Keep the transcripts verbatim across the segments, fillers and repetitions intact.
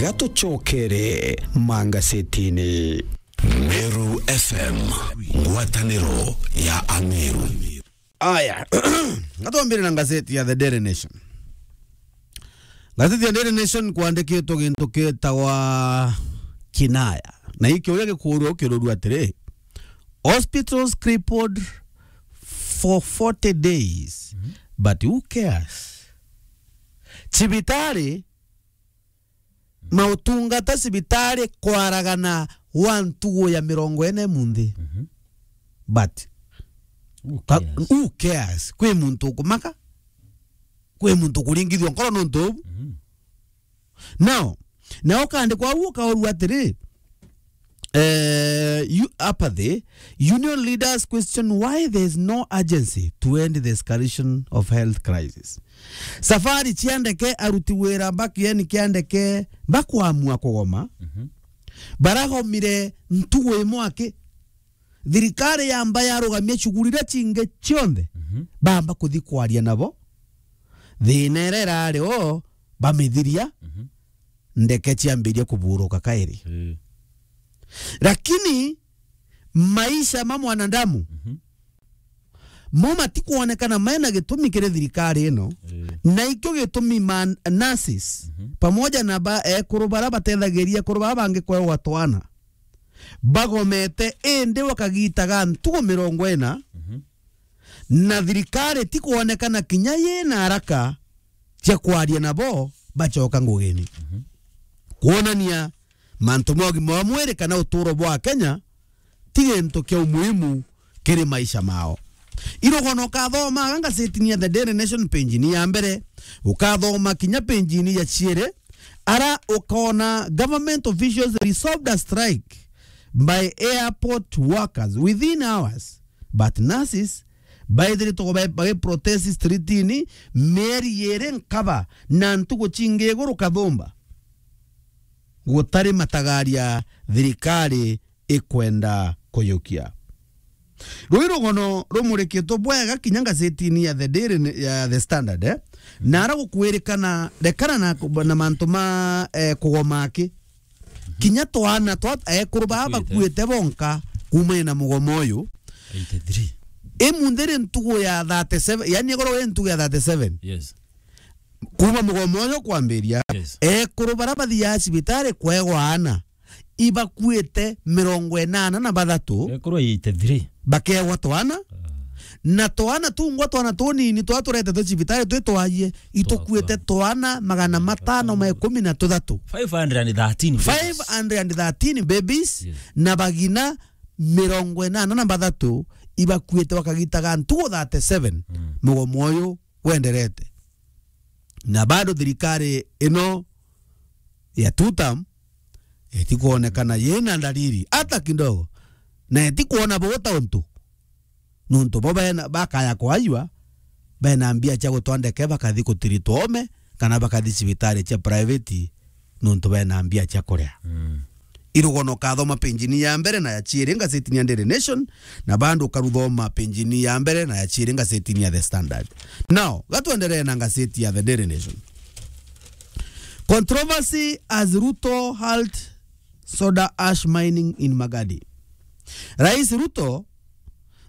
Gatucokere mangasetini. Meru F M, ngwataniro ya Ameru. Aya, gatwambire na ngazeti ya The Daily Nation. Ngazeti ya Daily Nation kwandikitwo gintu kitagwa kinaya. Na iki uria gikuurua ukirurua atiri, "Hospitals crippled for forty days, but who cares?" Cibitari, mautungata cibitari kwaragana wa ntugu ya mirongo ina munthi. Mhm. But who ka-, cares? Who cares? Kwi muntu ukumaka? Kwi muntu ukuringithua nkoro nontu ubu? Mhm. Now, na ukandikwa au ukaurua atiri, eh, you, apathy, union leaders question why there is no urgency to end the escalation of health crisis. Safari cia ndeke, aruti wira ba kieni kia ndeke bakwamua kugoma, mhm, baragomire ntugu imwe aki. Thirikari yamba yarugamia shughuli iria cingi cionthe, mhm, bamba kuthi kwaria nabo. Thina iria irari o bamithiria, mhm, ndeke ciambiria kuburuka kairi. Eh. Lakini maisha ma mwanadamu, mhm, mo matikwonekana mena gitumi kiri thirikari ino, eh, na ikio gitumi ma nurses, mhm, pamoja na ba ekuru bara batethagiria ekuru bara bangi kwewa twana bagomete, indi bakagitaga ntugu mirongo ina, mhm, na thirikari tikwonekana kinya yina haraka cia kwaria nabo bacoka ngugini. Mhm. Kwonania mantu ma ugima wa mwiri kana uturo bwa Kenya ti gintu kia umuhimu kiri maisha mao. Irugono ukathomaga ngazetini ya The Daily Nation page-ini ya mbere, ukathoma kinya page-ini ya ciiri, ara ukona government officials resolved a strike by airport workers within hours, but nurses baithiritwe ba-, bagiprotest street-ini mieri yiri nkaba na ntugu cingi iguru kathumba. Gutari matagaria thirikari ikwenda kuyukia. Rui rugono rumurikitwe bwega kinya ngazetini ya The Daily, ya The Standard, eh? Na ara gukwirikana, rekana na, na mantu ma, eh, kugoma aki. Kinya twana twa ekuru baa bakuite bonka kuumania na mugomo uyu. Eighty-three. Imunthi ri ntugu ya thirty-seven, yani igoro ri ntugu ya thirty-seven. Yes. Kuuma mugomo uyu kwambiria, yes, ekuru bara bathiaga cibitari kwegwa ana, ibakuite mirongo inana na bathatu. Ekuru eighty-three. Bakegwa twana. Ah. Na twana tungwa, twana tunini twa turetetwe cibitari twi twaie, itukuite twana magana matano ma ikumi na tuthatu. Five hundred and thirteen babies. Five hundred and thirteen babies, yes, na bagina mirongo inana na bathatu ibakuite bakagitaga ntugu thirty-seven. Mm. Mugomo uyu wenderete. Na bado thirikari ino ya two term itikwonekana yina ndariri hata kidogo, na itikwona bota untu. Nontu bo bena, bakaya kwayua, bena mbia cia gutwa ndeke bakathi kutiritwa ome, kana bakathi cibitari cia private, nontu bena mbia cia kuria. Mm. Irugono ukathoma page-ini ya mbere na ya ciiri ngazetini ya Daily Nation, na bado ukaruthoma page-ini ya mbere na ya ciiri ngazetini ya The Standard. Now, gatwenderee na ngazeti ya The Daily Nation. Controversy as Ruto halt soda ash mining in Magadi. Rais Ruto,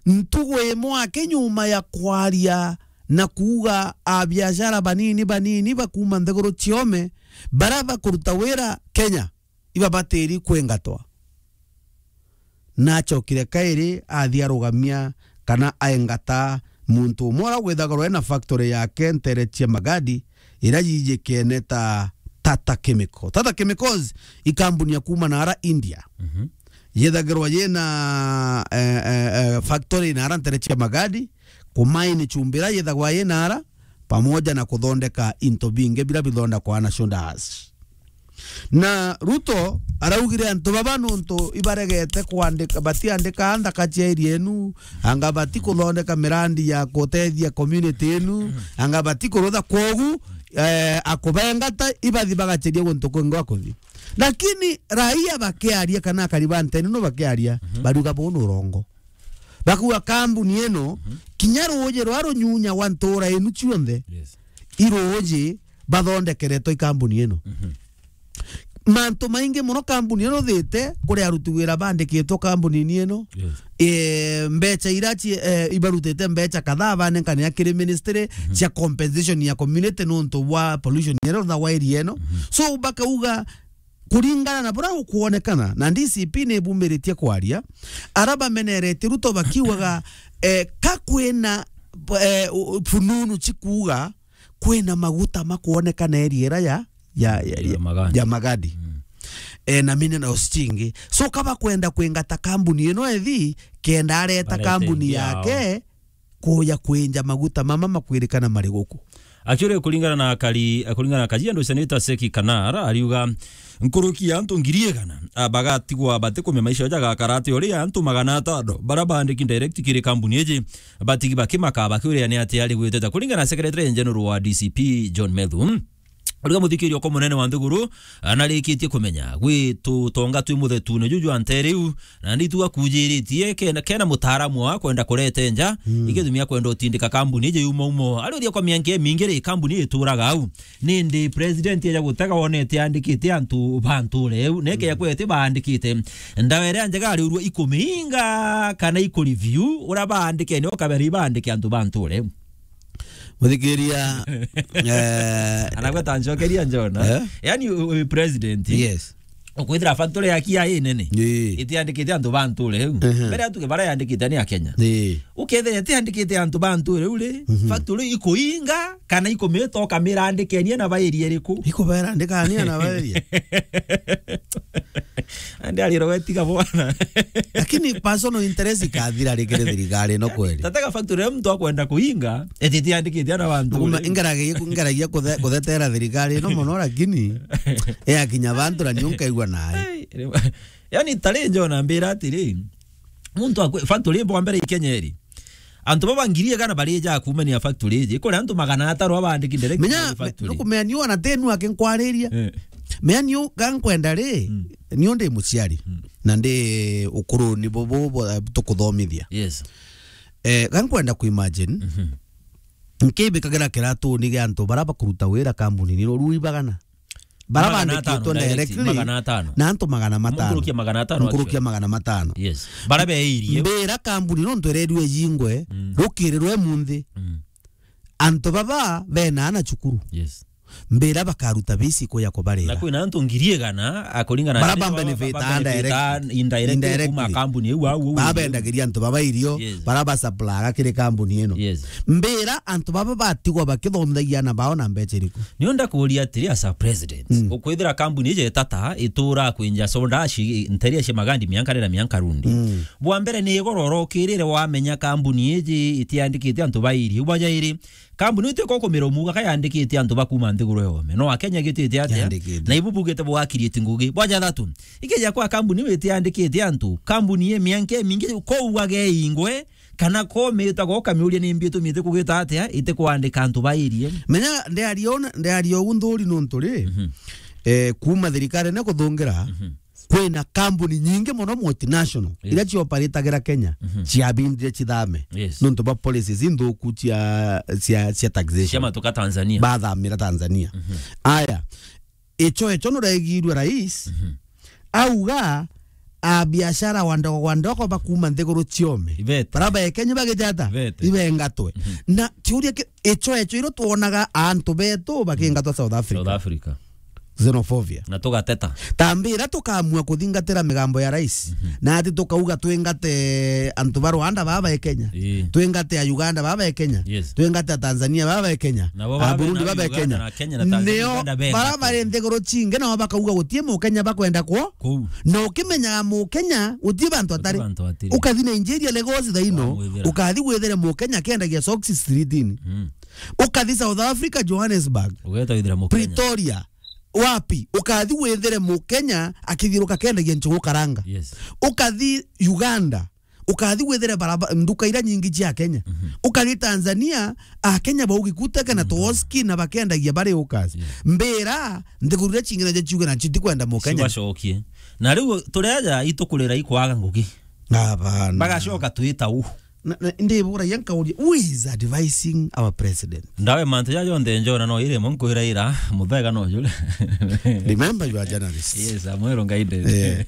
ntugu imwe aki nyuma ya kwaria na kuuga abiashara banini banini bakuuma nthiguru ciome bara bakuruta wira Kenya ibabatiri kwingatwa. Nacokire kairi athi arugamia kana aingata muntu umwe uria withagirwa ena factory yake ntere cia Magadi iria yijikene ta Tata Chemical. Tata Chemicals i kambuni ya kuuma na ara India. Mhm. Yithagirwa yina, eh, eh, eh, factory na ara ntere cia Magadi, kumaini chumbi iria yithagwa yina ara, pamoja na kuthondeka into bingi biria bithondekwa na soda ash. Na Ruto araugire antu baba nontu ibaregete kwandika, batiandika nthaka cia area enu, anga bati kuthondeka mirandi ya kutethia community enu, anga bati kurutha kwogu, eh, akubengata ibathi bagacheria guntu kwingi gwa kuthi. Lakini raia bakiaria kana akari ba ntene no bakiaria, mhm, baruga bunu urongo. Bakuga kambuni ino, mhm, kinya ruuji rwa runyunya gwa ntura inu cionthe, yes, i ruuji bathondekeretwe i kambuni ino. Mhm. Mantu maingi mono kambuni ino thite kuri aruti wira bandikitwe kambuni-ini ino. Yes. Eh, mbecha ira ci-, eh, ibarutite mbecha kadhaa banenkanira kiri ministry cia compensation ya community nontu bwa pollution ira rutha wa area ino. So bakauga, kuringana na buria gukwonekana, na D C P ni bumiritie kwaria, ara bameneretie Ruto bakiugaga, eh, ka kwina, eh, u-, fununu cikuuga kwina maguta makwonekana area ira ya, ya, ya, Ya ya, Magadi. Ya Magadi. Eh, na minerals cingi. So, ka bakwenda kwingata kambuni ino ethi, kenda areta Arete kambuni ingi yao. Yake, kuja kwinja maguta mama makwirikana mari guku. Actually, kuringana na Kari-, kuringana na Kajiado Senator Seki Kanar, ariuga nkuruki ya antu ngiri igana, a, bagatigwa batikumia maisha jagakara ati uri antu magana atano bara bandiki direct kiri kambuni iji, batigi bakimaka bakiuria ni atia ari gwiteta. Kuringana na Secretary General wa D C P John Methu, uriga muthikiria uko munene wa nthiguru, anarikitie kumenya gwitu tonga twi muthetune juju anteriu, na nditu akujiritie kena, kena mutaaramu wa kwenda kurete nja, mm, igithumia kwenda utindika kambuni iji yuma umo. Ari uthia kwa mianke mingi ri kambuni ituraga au. Nindi president eja gutega wonete andikite antu ba nture eu, neke ya kwete baandikite. Ndawa iria njega ari urua ikuminga kana ikureview, ura baandike ni ukabere ibaandike antu ba nture eu. Muthikiria, eh, anagweta njokeria njona. Eh? Yani, u-, u-, president. Yes. Ukwithira factory ya kia inene. Ii. Itiandikite antu ba nture eu. Mhm. Mbere atuke bara yandikite ni a Kenya. Ii. Ukethira itiandikite antu ba nture eu ri, mhm, factory ikuinga kana ikumita ukamira andikenie na bairie riku? Ikubera andikania na bairie. Andi ariro wetiga bwana. Lakini personal interest ikathira rikiri thirikari ino kweli. Tatega factory ya mtu akwenda kuinga, eti tiandikite ana bantu. Kuma ri. Ingeragia ku-, ingeragia kuthe-, kuthetera thirikari ino mono, lakini yakinya bantu na niu nkaigua nayo. Ai, yani tari njona mbira atiri, muntu akwe factory mbo mbere ikenya iri. Antu baba ngiri igana barija kumania factory iji, kuri antu magana atano abandiki direct. Menya, factory. Nukumenya niu ana tenu akinkwariria. Eh. Menya niu gankwenda ri, mm, niu ndi muciari. Mm. Na ndi ukuruni bubu, eh, tukuthomithia. Yes. Eh, gankwenda ku imagine, mhm, nkibikagira kiratuni gia antu bara bakuruta wira kambuni ni ruu ibagana. Bara magana atano bandikitwe direct, directly, magana atano. Na antu magana matano. Nkurukia magana atano. Nkurukia actually magana matano. Yes. Bara beirie. Mbira kambuni nontu irerirwe ijingwe, mm, rukiri rwe munthi. Mm. Antu baba bena ana cukuru. Yes. Mbira bakaruta bisi kuya kubarira. Na kwina antu ngiri igana, a, kuringana bara na ba benefit ba benefit indirectly. Indirectly. Indirectly. Kuma kambuni iu au, au, au. Babendagiria antu baba irio, yes, bara ba supply kiri kambuni ino. Yes. Mbira antu baba batigwa bakithomthagia ana bao na mbecha iriku? Nio ndakuria atiri, as a president, mm, ukwithira kambuni ije tata itura kwinja soda ci nteria cia magandi mianka rira mianka rundi. Mm. Bwa mbere ni igoro urokirire wamenya kambuni iji itiandikite antu bairi. Bwa jairi, kambuni itiko kumira umuga ka yandikite antu bakuma nthiguru yome. No Akenya gitite atia? Yandikite. Na ibu bugite bwa create ngugi. Bwa jathatu, ikeja kwa kambuni itiandikite antu, kambuni ye mianka mingi ko uage ingwe, kana komita go kamiuria ni mbi itumite kugita atia ite kwandika antu bairie. Menya, ndiaria una, ndiaria ugu nthuri nontu ri, mhm, eh, kuma thirikari ne kuthungira, mhm, kwina kambuni nyingi mono multinational, yes, iria cioperatagira Kenya, mhm, ciabindire cithame. Yes. Nontu bwa policies inthuku cia, cia, cia taxation. Cia matuka Tanzania. Bathamira Tanzania. Mhm. Aya, icho, icho nuraigirwe rais, mhm, auga, a biashara wa ndogo wa ndogo bakuma nthiguru ciome. Ibete. Bara ba Kenya bagijata? Ibete. Ibengatwe. Mhm. Na kiuria ki-, icho, icho iro twonaga antu betu bakingatwa South Africa. South Africa. Xenophobia. Na tugateta. Tambira tukamua kuthingatira migambo ya rais. Mhm. Na ati tukauga twingate antu ba Rwanda baba e Kenya. Ii. Twingate a Uganda baba e Kenya. Yes. Twingate a Tanzania baba e Kenya. Nabo a babe Burundi na baba e Uganda Kenya. Na Kenya na Tanzania, nio Uganda bara benga bari nthiguru cingi nao bakauga gutie Mukenya bakwenda kwo. Kuu. Na ukimenyaga Mukenya gutie bantu atari. Gutie bantu atari. Ukathi Nigeria Lagos thaino. Wamwithira. Ukathi withire Mukenya kendagia socks streetini. Mm. Ukathi South Africa Johannesburg. Ugeta withira Mukenya. Pretoria. Wapi? Ukathi withire Mukenya akithiuruka kendagia njugu karanga. Yes. Ukathi Uganda, ukathi withire baraba-, nduka iria nyingi cia Kenya. Mhm. Ukathi Tanzania, Akenya baugi kuteke na, mhm, tuoski na bakendagia bari ukas. Yes. Mbira, nthiguru iria cingi nacio ciuge nacio itikwenda Mukenya. Cibacokie. Na riu turi aja itukurira ikwaga ngugi. Abana. Bagacoka twita u. na, na, ndiburagia nkauria, who is advising our president? Ndawe mantu ja jonthe njona no iri mo nkwira ira, muthega no jure. Remember, you are journalist. Yes, I'm well guided. Eh.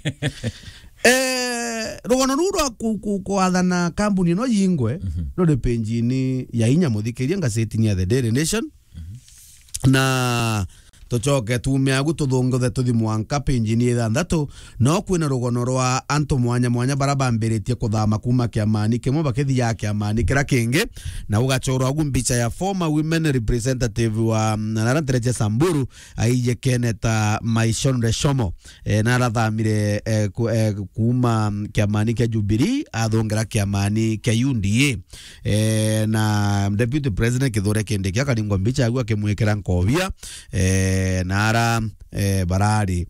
Eh, rugono ruu rwa ku-, ku-, kwathana kambuni ino yingwe, Mhm. ruri page-ini ya inya, muthikiria, ngazetini ya The Daily Nation. Mhm. Na tucoke tuume agu tuthunguthe tuthi mwanka page-ini ya ithanthatu, no kwina rugono rwa antu mwanya mwanya bara bambiritie kuthama kuuma kiamani kimwe bakithiaga kiamani kiria kingi, na ugachorwa agu mbicha ya former women representative wa, mm, nara ntere cia Samburu, aijikene ta Maishon Reshomo, eh, narathamire, eh, ku-, eh, kuuma kiamani kia Jubilee athongera kiamani kia U D A. Eh, na Deputy President Kithure Kindiki akaringwa mbicha agu akimwikira nkobia, eh, na ara, eh, barari.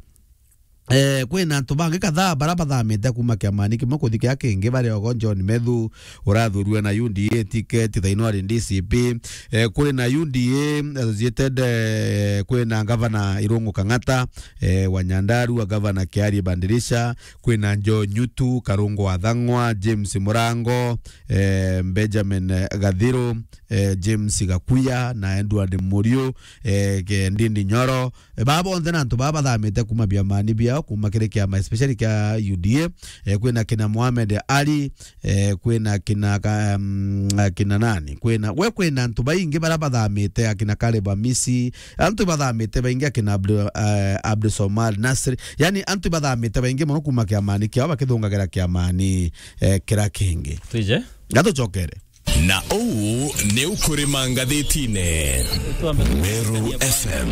Eh, kwina antu bangi kadhaa bara bathamite kuuma kiamani kimwe kuthi kia kingi, bari ogo John Methu urathurue na U D A ticket, thaino ari D C P. Eh, kuri na U D A associated, eh, kwina Gavana Irungu Kang'ata, eh, wa Nyandarua, Gavana Kiarie Bandirisha, kwina Joe Nyutu, Karungu wa Thang'wa, James Murango, eh, Benjamin, eh, Gathiru, eh, James Gakuya na Edward Muriu, eh, ke-, Ndindi Nyoro. Eh, baba bonthe na antu baba bathamite kuuma biamani biao, kuuma kiri kiama, especially kia U D A. Eh, kwina kina Mohamed Ali, eh, kwina kina ka-, mm, kina nani? Kwina, we kwina antu baingi bara bathamite, akina Caleb Amisi, antu bathamite baingi, akina Abdu-, eh, Abdul Somad Nasri. Yani, antu bathamite baingi mono kuuma kiamani kiao bakithungagira kiamani, eh, kira kingi. Twije? Gatucokere. Na uu ni ukurima ngathitine. Twambe Meru F M,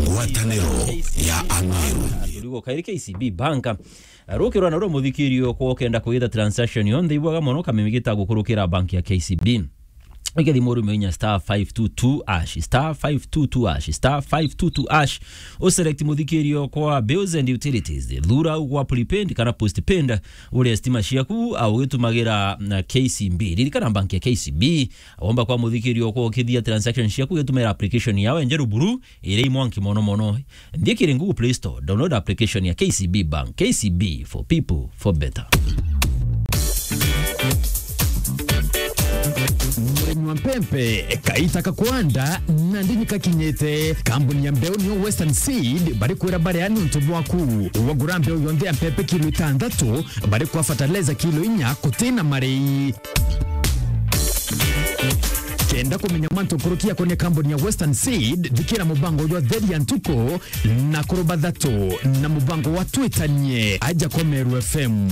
ngwataniro ya Ameru. Turigo kairi K C B Bank. Rukirwa na rwo muthikirio kwa ukenda kwitha transaction yonthe ibwaga mono, kamimi gita gukurukira bank ya K C B. Igethi murume inya star five two two hash, star five two two hash, star five two two hash. U select muthikirio kwa bills and utilities. Thura ugwa prepaid kana postpaid. Uria stima ciaku, au ugitumagira na K C B. Ririkana bank ya K C B. Womba kwa muthikirio kwa ukithia transaction ciaku, ugitumagira application yao enjeru buru, iri imwanki mono mono. Nthie kiri Google Play Store, download application ya K C B Bank. K C B for people, for better. Murimi wa mpempe, kaita ka kwanda, na ndini kakinyite. Kambuni ya mbeu niyo Western Seed, bari kwira baria ni untu bwaku. Wagura mbeu yonthe ya mpempe kilo itantatu, bari kwa fertilizer kilo inya, kutina marei. Kenda kumenya mantu nkuruki yakonia kambuni ya Western Seed, thikira mubango jwa Theri ya Ntuku na Kuruba Thatu na mubango wa Twitanie aja kwa Meru F M.